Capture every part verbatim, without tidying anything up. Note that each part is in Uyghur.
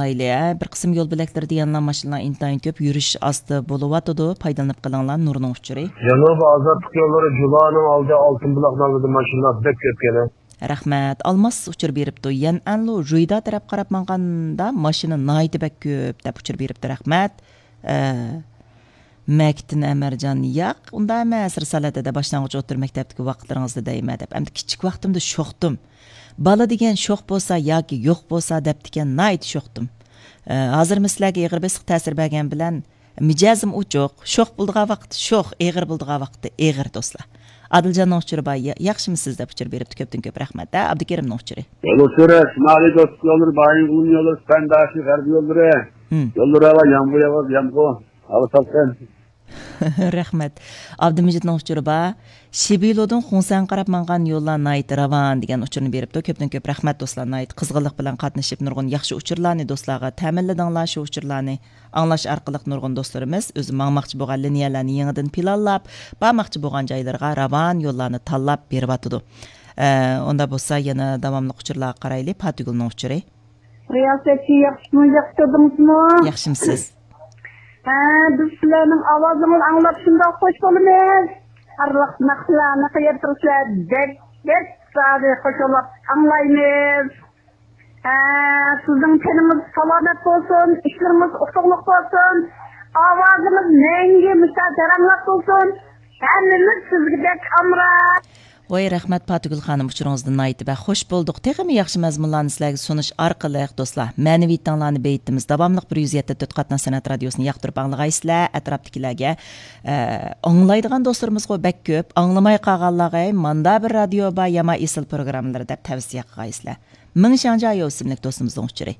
ئايلى، ھە، بىر قىسىم يول بۆلەكلىرىدە يەنىلا ماشىنىلار ئىنتايىن كۆپ، يۈرۈش ئاستا بولۇۋاتىدۇ. پايدىلىنىپ قېلىڭلار، نۇرنىڭ ئۇچۇرى. جەنۇبىي ئازادلىق يوللىرى جۇلانىڭ ئالدى ئالتۇن بۇلاقنىڭ ئالدىدا ماشىنىلار بەك كۆپ كەلدى. رەھمەت. ئالماس ئۇچۇر بېرىپتۇ. يەنئەنلۇ، جۇيدا تەرەپ قاراپ ماڭغاندا ماشىنا ناھايىتى بەك كۆپ دەپ ئۇچۇر بېرىپتۇ. رەھمەت. ئە، مەكىتتىن ئەمەرجان، ياق، ئۇنداق ئەمەس، رىسالەتتە باشلانغۇچ ئوتتۇرا مەكتەپتىكى ۋاقىتلىرىڭىزدا دەيمەن دەپ. ئەمدى كىچىك ۋاقتىمدا شوختۇم. بالا دېگەن شوخ بولسا ياكى يوق بولسا دەپتىكەن، ناھايىتى شوختۇم. ئە، ھازىرمۇ سىلەرگە ئېغىر بېسىق تەسىر بەرگەن بىلەن، مىجەزىم ئوچۇق، شوخ بولىدىغان ۋاقىتتا شوخ، ئېغىر بولىدىغان ۋاقىتتا ئېغىر، دوستلار. ئادىلجاننىڭ ئۇچۇرى بار، يا-، ياخشىمۇسىز دەپ ئۇچۇر بېرىپتۇ، كۆپتىن كۆپ رەھمەت. ھە، ئابدۇكېرىمنىڭ ئۇچۇرى. يول ئۇچۇرى، شىمالىي دوستلۇق يوللىرى، بايىنغولىن يوللىرى، سۈپەنداشى غەربىي يوللىرى. مم. يوللىرى ھاۋا، يامغۇر ياغىدۇ، يامغۇر. ھاۋا سالقىن. رەھمەت. ئابدۇمىجىتنىڭ ئۇچۇرى بار. شىبىلودىن خۇڭسەنگە قاراپ ماڭغان يوللار ناھايىتى راۋان دېگەن ئۇچۇرنى بېرىپتۇ. كۆپتىن كۆپ رەھمەت دوستلار، ناھايىتى قىزغىنلىق بىلەن قاتنىشىپ نۇرغۇن ياخشى ئۇچۇرلارنى دوستلارغا تەمىنلىدىڭلار. شۇ ئۇچۇرلارنى ئاڭلاش ئارقىلىق نۇرغۇن دوستلىرىمىز ئۆزى ماڭماقچى بولغان لىنىيەلەرنى يېڭىدىن پىلانلاپ، بارماقچى بولغان جايلىرىغا راۋان يوللارنى تاللاپ بېرىۋاتىدۇ. ئە، ئۇنداق بولسا يەنە داۋاملىق ئۇچۇرلارغا قارايلى. پاتىگۈلنىڭ ئۇچۇرى. رىياسەتچى، ياخشىمۇ، ياخشى تۇردىڭىزمۇ؟ ياخشىمۇسىز؟ ھە، بىز سىلەرنىڭ ئاۋازىڭىزنى ئاڭلاپ شۇنداق خوش بولىمىز. ئارىلىق ناخشىلارنى قويۇپ تۇرسىلەر، بەك، بەك زادى خوش بولۇپ ئاڭلايمىز. ھە، سىزنىڭ تېنىڭىز سالامەت بولسۇن، ئىشلىرىڭىز ئۇتۇقلۇق بولسۇن، ئاۋازىڭىز مەڭگۈ مۇشۇ جاراڭلاپ بولسۇن. ھەممىمىز سىزگە بەك ئامراق. ۋاي، رەھمەت، پاتىگۈل خانىم، ئۇچۇرىڭىزدىن ناھايىتى بەك خوش بولدۇق. تېخىمۇ ياخشى مەزمۇنلارنى سىلەرگە سۇنۇش ئارقىلىق، دوستلار، مەنىۋىيىتىڭلارنى بېيىتىمىز. داۋاملىق بىر يۈز يەتتە تۆت قاتناش سەنئەت رادىيوسىنى ياقتۇرۇپ ئاڭلىغايسىلەر. ئەتراپتىكىلەرگە، ئە، ئاڭلايدىغان دوستلىرىمىزغۇ بەك كۆپ. ئاڭلىماي قالغانلارغا، ھەي، ماندا بىر رادىيو بار، يامان ئېسىل پروگراممىلىرى دەپ تەۋسىيە قىلغايسىلەر. مىڭشاڭجيايو ئىسىملىك دوستىمىزنىڭ ئۇچۇرى.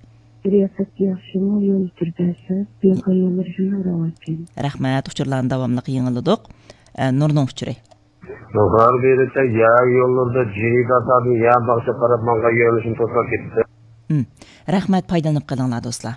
رىياسەتچى، ياخشىمۇ؟ يول ئۇچۇرى بەرسە، بىياكان يوللىرى شۇنداق راۋانكەن. رەھمەت، ئۇچۇرلارنى داۋاملىق يېڭىلىدۇق. ئە، نۇرنىڭ ئۇچۇرى. غەربىي يەر يوللىرىدا جىداسادىن يەر باغچە قاراپ ماڭغان يۆنىلىشنى توسۇپ كەتتى. ھىم. رەھمەت، پايدىلىنىپ قېلىڭلار، دوستلار.